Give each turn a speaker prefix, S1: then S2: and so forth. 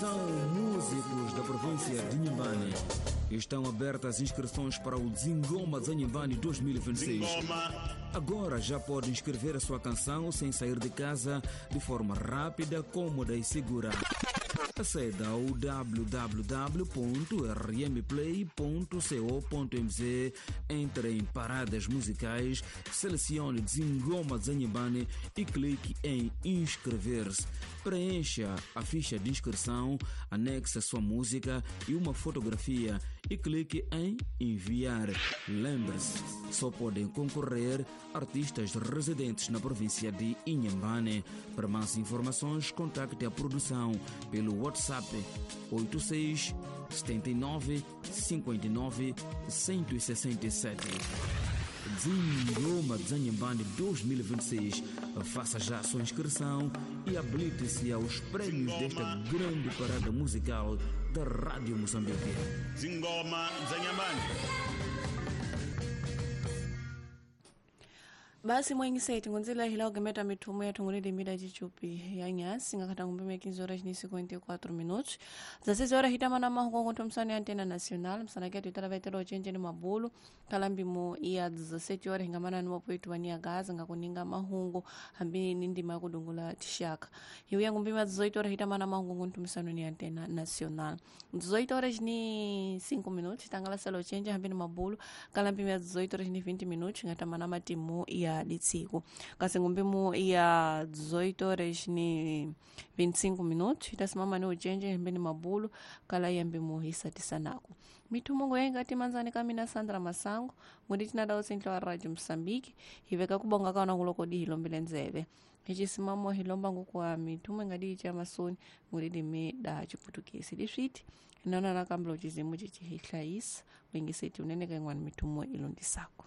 S1: Atenção, músicos da província de Inhambane. Estão abertas as inscrições para o Zingoma dza Inhambane 2026. Agora já pode inscrever a sua canção sem sair de casa, de forma rápida, cômoda e segura. Aceda ao www.rmplay.co.mz, entre em paradas musicais, selecione Zingoma dza Inhambane e clique em inscrever-se. Preencha a ficha de inscrição, anexe a sua música e uma fotografia e clique em enviar. Lembre-se, só podem concorrer artistas residentes na província de Inhambane. Para mais informações, contacte a produção pelo WhatsApp 86 79 59 167. Zingoma dza Inhambane 2026. Faça já a sua inscrição e habilite-se aos prêmios desta grande parada musical da Rádio Moçambique.
S2: Zingoma dza Inhambane.
S3: Basi mwengiseti ngonzela hila ugemeta mithumo ya thungulile mida chichupi ya nyasi ngakhata ngumbime 15 horas ni 54 minutos. 16 horas hitamana mahuko ngonto msani Antena Nacional msana ketu itala vaitela ochenje ni mabulu kalambimo ya 17 horas hingamana ni wapoitu wania gaza ngakuninga mahungu hambi ni ndima ya kudungula tishaka hiu ya ngumbime 18 horas hitamana mahungu ngonto msani ni Antena Nacional. 18 horas ni 5 minutos tangala sala ochenje hambi ni mabulu kalambimo ya 18 horas ni 20 minutos ngatamana matimu ya litsiku kasi ngumbimu ya 18 horas ni 25 minutos itasimama ni ujenje hembeni mabulu kala yambimu hisatisanako mithumungu yaingati manzani kamina Sandra Masango ngudi tinadawo sintlo wa Radio Mosambiki hiveka kubonga kaona kulokodi hilombile nzeve hichisimamo hilomba ngukuwa mithumu ingadi icha masoni ngudi dimi da chiputukisi liswiti inaona nakambila uchizimu chichi hihlayisa wengiseti unene kaingwani mithumu ilondisako.